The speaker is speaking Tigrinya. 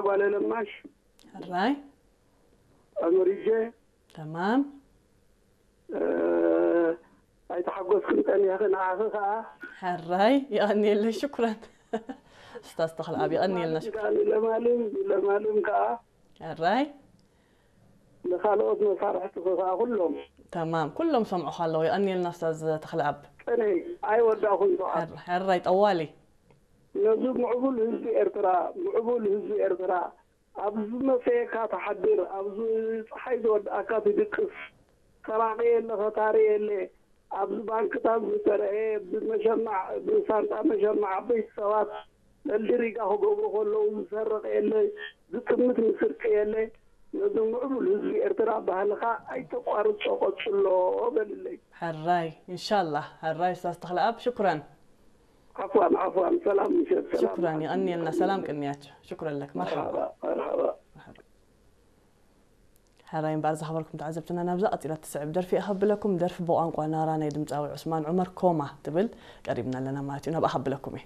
ጓለ ለማሽ ሕራይ ኣመሪጀ ተማም ኣይተሓጎስክን ጸኒሕኺ። ንዓኺ ከኣ ሕራይ የቐንየለይ ሽኩረን። ስታዝ ተኽለኣብ የቐንየልና ሽኩረን። ለማልም ለማልም ከኣ ሕራይ ንኻልኦት መሳርሕትኺ ከኣ ኩሎም ተማም ኩሎም ሰምዑኻ ኣለዉ። የቐንየልና ስታዝ ተኽለኣብ። ጸንሒ ኣይወዳእኹን ሰዓት ሕር- ሕራይ ጠዋሊ ነዚ ምዕቡል ህዝቢ ኤርትራ ምዕቡል ህዝቢ ኤርትራ ኣብ ዝመሰየካ ትሓድር ኣብ ዝ- ፀሓይ ዝወድኣካ ትድቅስ ሰራቂ የለ ኸታሪ የለ ኣብዚ ባንክታት ዝተረኤ ብመሸማዕ ብሳንጣ መሸማዕ ዓበይቲ ሰባት ለልዲ ሪጋ ክገብሩ ከለዉ ዝሰርቅ የለ ዝጥምት ምስርቂ የለ ነዚ ምዕቡል ህዝቢ ኤርትራ ባህልኻ ኣይተቋርጾ ቀጽሎ በልለይ ሕራይ እንሻላህ ሕራይ ስታዝ ተኽለኣብ ሽኩረን። ዓፍዋን ዓፍዋን ሰላም ምሸት ሰላም ሽኩረን የቐንየልና ሰላም ቅንያት ሽኩረን ለክ መርሓባ መርሓባ መርሓባ ሕራይ እምበኣር ዝኸበርኩም ተዓዘብትና ናብዛ ቀፂላ ትስዕብ ደርፊ እያ ከብለኩም። ደርፊ ብቋንቋ ናራ ናይ ድምፃዊ ዑስማን ዑመር ኮማ ትብል ቀሪብና ኣለና ማለት እዩ። ናብኣ ከብለኩም እየ።